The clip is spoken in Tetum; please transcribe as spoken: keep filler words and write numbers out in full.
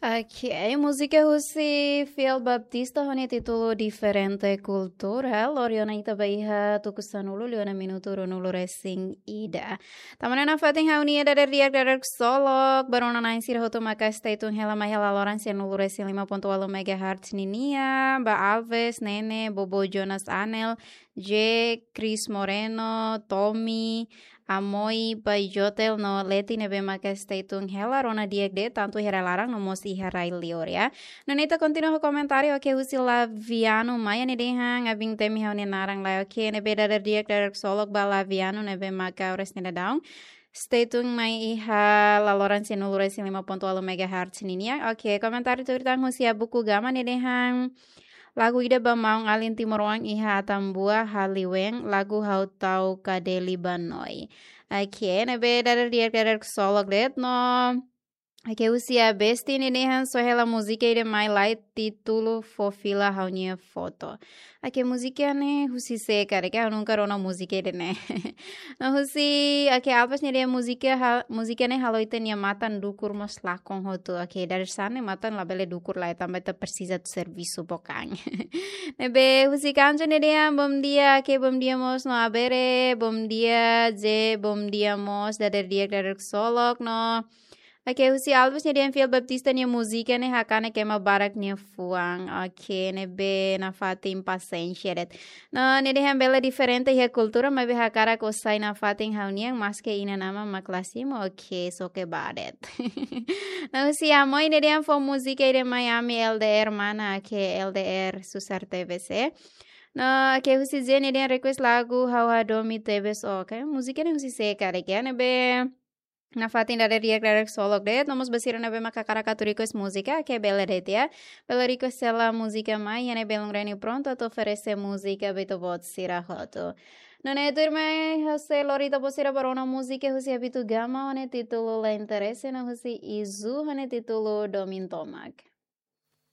Ok, múzika husi Fiel Baptista ho nia títulu Diferente Kultura. Lori ona ita ba iha tuku sanulu liu ona minutu ruanulu resin ida. Tama ona nafatin ha'u-nia dadeer-di'ak, dadeer-solok ba rona-na'in sira hotu maka stay tune hela mai iha laloran sianulu resin lima pontu ualu megahertz ninia, ba Alves, Nene, Bobo Jonas Anel, J, Chris Moreno, Tommy, Amoi, Pai Jotel no Leti ne'ebé maka stay tune hela rona di'ak de'it, tantu iha rai laran no mós iha rai liur, ya. Nune'e ita kontinua ho komentáriu, ok, husi Laviano Maia nia dehan, abin temi ha'u-nia naran lai, ok, ne'ebé dadeer-di'ak, dadeer-solok ba Laviano ne'ebé maka oras ne'e daudaun stay tune mai iha laloran sianulu resin lima pontu ualu megahertz ninia. Ok, komentáriu tuir tan husi Abuku Gama nia dehan, lagu ida ba maun alin timoroan iha Atambua Haliwen, lagu Ha'u Tau Kadeli Banoi. Ok, ne'ebé dadeer-di'ak, dadeer-solok de'it no. Ok, husi Abesti nia dehan só hela múzika ida mai lai títulu Fó Fila Ha'u-nia Foto. Ok, múzika ne'e husi sé karik, ha'u nunka rona múzika ida-ne'e. No husi, ok, Alves nia dehan múzika ha-, múzika ne'e halo ita-nia matan dukur mós lakon hotu. Ok, dadeer-saan ne'e matan labele dukur lai, tanba ita presiza atu servisu bokan. Ne'ebé husi Kanjo nia dehan bom dia, ok, bom dia mós no Abere, bom dia, J, bom dia mós, dadeer-di'ak, dadeer-solok no. Ok, husi Alves nia dehan Fiel Baptista nia múzika ne'e hakanek ema barak nia fuan. Ok, ne'ebé nafatin pasiénsia de'it. No, nia dehan bele diferente iha kultura, maibé hakarak sai nafatin ha'u-nian, maske inan-aman mak la simu, ok, só ke ba de'it. No, husi Amoi nia dehan fó múzika ida mai ami L D R mana, ok, L D R susar T V C. No, ok, husi J nia dehan request lagu Ha'u Hadomi Tebes, ok, múzika ne'e husi sé karik, ya, ne'ebé nafatin dadeer-di'ak, dadeer-solok de'it, no mós ba sira ne'ebé maka hakarak atu request múzika, ok, bele de'it, ya. Bele request hela múzika mai, iha ne'e belun reni prontu atu oferese múzika ba ita-boot sira hotu. Nune'e tuirmai, ha'u sei lori ita-boot sira ba rona múzika husi Abitu Gama ho nia títulu La Interese no husi Izu ho nia títulu Domin Tomak.